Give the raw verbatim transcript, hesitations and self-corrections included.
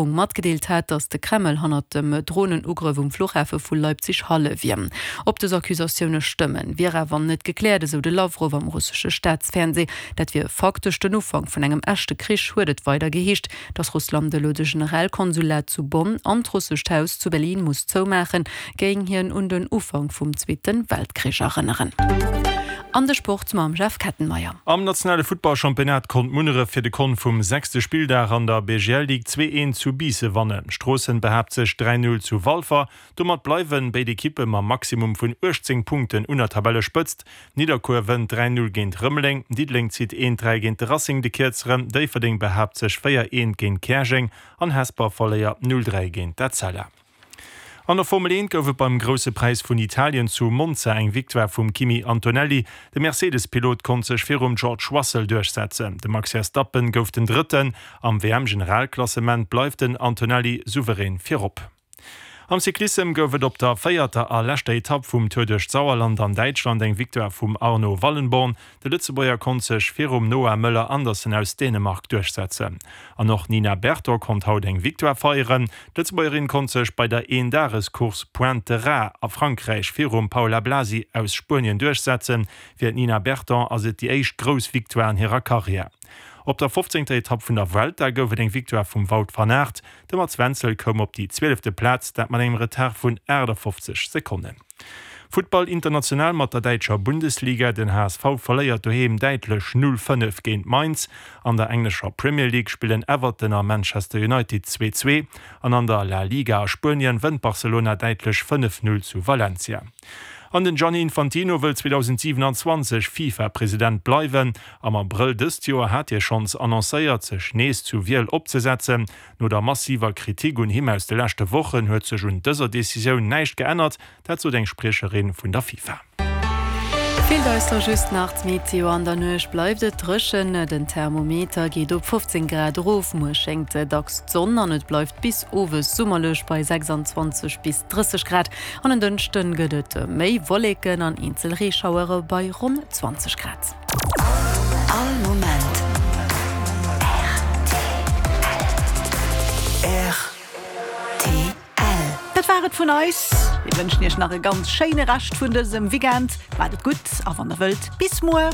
Matgedeelt hat, datt de Kreml hannert dem Dronenugrëff um Fluchhafe vu Leipzig-Halle wier. Ob dës Accusatioune stëmmen, wier awer net gekläert, esou de Lawrow am russesche Staatsfernsee. Dat wier faktesch den Ufank vun engem echte Krich, huet et weider geheescht. Datt Russland elo de Generalkonsulat zu Bonn an d'Russescht Haus zu Berlin muss zoumaachen, géing hien un den Ufank vum Zweete Weltkrich erënneren. An de Sport mam Jeff Kettenmeyer. Am nationale Futtballchampionnat konnt Munneref fir de Kont vum sechste Spilldag an der B G L Ligue zwee eent zu Biissen wannen. Stroossen behaapt sech dräi null zu Walfer. Domat bleiwen béid Ekippe mam Maximum vun uechtzéng Punkten un der Tabellespëtzt. Nidderkuer wënnt dräi null géint Rëmeleng, Diddeleng zitt eent dräi géint de Racing de Kierzeren, Déifferdeng behaapt sech véier eent géint Käerjeng an Hesper verléiert null dräi géint d'Etzella. An der Formel eent gouf et beim Grousse Präis vun Italien zu Monza eng Victoire vum Kimi Antonelli. De Mercedes-Pilot konnt sech virum George Russell duerchsetzen. De Max Verstappen gouf den Drëtten. Am W M-Generalklassement bleift den Antonelli souverän virop. Am Cyclissem gouf et op der véierter a leschter Etapp vum Tour duerch d'Sauerland an Däitschland eng Victoire vum Arno Wallenborn. De Lëtzebuerger konnt sech virum Noah Möller Andersen aus Dänemark duerchsetzen. An och Nina Berton konnt haut eng Victoire feieren. D'Lëtzebuergerin konnt sech bei der Eendagescourse Pointe Ras a Frankräich virum Paula Blasi aus Spuenien duerchsetzen. Fir d'Nina Berton ass et déi éischt grouss Victoire an hirer Karriär. Op der fofzéngter Etapp vun der Vuelta gouf et eng Victoire vum Wout van Aert. De Mats Wenzel koum op déi zwielefte Plaz, dat mat engem Retard vun achtafofzeg Sekonnen. Futtball international mat der däitscher Bundesliga. Den H S V verléiert doheem däitlech null fënnef géint Mainz. An der englescher Premier League spillen Everton a Manchester United zwee zwee. An an der La Liga a Spuenien wënnt Barcelona däitlech fënnef null zu Valencia. An den Gianni Infantino wëll zweedausendsiewenundzwanzeg FIFA-President bleiwen. Am Abrëll dëst Joer hat hie schonns annoncéiert, sech nees zu Wiel opzesetzen. No der massiver Kritik un him aus de leschte Wochen huet sech un dëser Decisioun näischt geännert, dat sot eng Spriecherin vun der FIFA. Feelt eis da just nach d'Meteo. An der Nuecht bleift et dréchen. Den Thermometer geet op fofzéng Grad erof. Muer schéngt dacks d'Sonn an et bleift bis owes summerlech bei sechsundzwanzeg bis drësseg Grad. An en Dënschden gëtt et méi Wolleken an eenzel Reeschauere bei ronn zwanzeg Grad. All Moment. R T L. Dat war et vun eis. Mir wënschen Iech nach e ganz schéine Rescht vun dësem Weekend. Macht et gutt a wann der wëllt, bis muer.